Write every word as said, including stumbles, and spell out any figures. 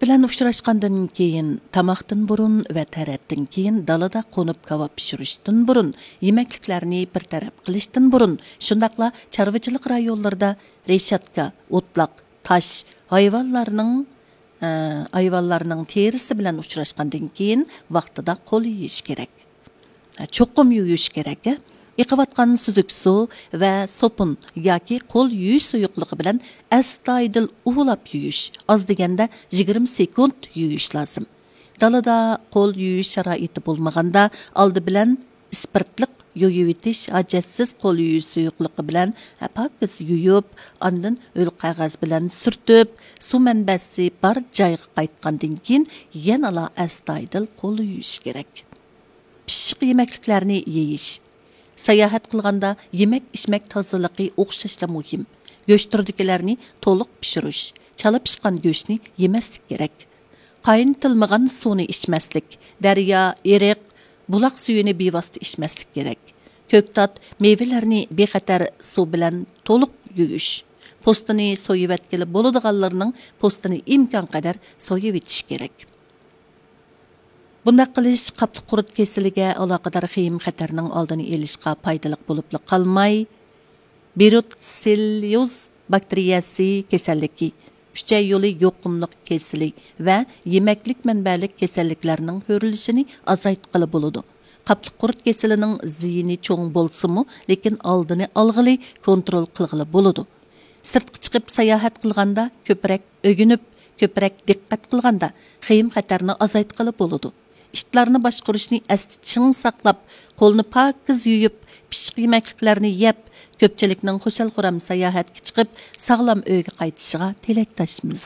بىلەن ئۇچراشقاندىن كېيىن، تاماقتىن بۇرۇن ۋە تەرەتتىن كېيىن دالىدا قونۇپ كاۋاپ پىشۇرۇشتىن بۇرۇن، يېمەكلىكلەرنى بىر تەرەپ قىلىشتىن بۇرۇن، شۇنداقلا چارۋىچىلىق رايونلىرىدا رېشاتكا، ئوتلاق، تاش، ھايۋانلارنىڭ، ئە، ھايۋانلارنىڭ تېرىسى بىلەن ئۇچراشقاندىن كېيىن ۋاقتىدا قول يۇيۇش كېرەك. چوقۇم يۇيۇش كېرەك. ئېقىۋاتقان سۈزۈك سۇ ۋە سوپۇن ياكى قول يۇيۇش سۇيۇقلۇقى بىلەن ئەستايىدىل ئۇۋىلاپ يۇيۇش، ئاز دېگەندە يىگىرمە سېكۇنت يۇيۇش لازىم. دالىدا قول يۇيۇش شارائىتى بولمىغاندا، ئالدى بىلەن ئىسپىرتلىق يۇيۇۋېتىش، ھاجەتسىز قول يۇيۇش سۇيۇقلۇقى بىلەن پاكىز يۇيۇپ، ئاندىن ھۆل قەغەز بىلەن سۈرتۈپ، سۇ مەنبەسى بار جايغا قايتقاندىن كېيىن يەنىلا ئەستايىدىل قول يۇيۇش كېرەك. پىششىق يېمەكلىكلەرنى يېيىش. ساياھەت قىلغاندا يېمەك-ئىچمەك تازىلىقى ئوخشاشلا مۇھىم. گۆش تۈرىدىكىلەرنى تولۇق پىشۇرۇش، چالا پىشقان گۆشنى يېمەسلىك كېرەك. قاينىتىلمىغان سۇنى ئىچمەسلىك، دەريا، ئېرىق، بۇلاق سۈيىنى بىۋاسىتە ئىچمەسلىك كېرەك. كۆكتات، مېۋىلەرنى بىخەتەر سۇ بىلەن تولۇق يۇيۇش. پوستىنى سويۇۋەتكىلى بولىدىغانلىرىنىڭ پوستىنى ئىمكانقەدەر سويۇۋېتىش كېرەك. بۇنداق قىلىش قاپلىق قۇرت كېسىلىگە ئالاقىدار خېيىم خەتەرنىڭ ئالدىنى ئېلىشقا پايدىلىق بولۇپلا قالماي، بروتسېلليوز باكتېرىيەسى كېسەللىكى، ئۈچەي يولى يۇقۇملۇق كېسىلى ۋە يېمەكلىك مەنبەلىك كېسەللىكلەرنىڭ كۆرۈلۈشىنى ئازايتقىلى بولىدۇ. قاپلىق قۇرت كېسىلىنىڭ زىيىنى چوڭ بولسىمۇ، لېكىن ئالدىنى ئالغىلى، كونترول قىلغىلى بولىدۇ. سىرتقا چىقىپ ساياھەت قىلغاندا كۆپرەك ئۆگىنىپ، كۆپرەك دىققەت قىلغاندا خېيىم خەتەرنى ئازايتقىلى بولىدۇ. ئىتلارنى باشقۇرۇشنى ئەستە چىڭ ساقلاپ، قولنى پاكىز يۇيۇپ، پىششىق يېمەكلىكلەرنى يەپ، كۆپچىلىكنىڭ خۇشال-خۇرام ساياھەتكە چىقىپ، ساغلام ئۆيگە قايتىشىغا تىلەكداشمىز.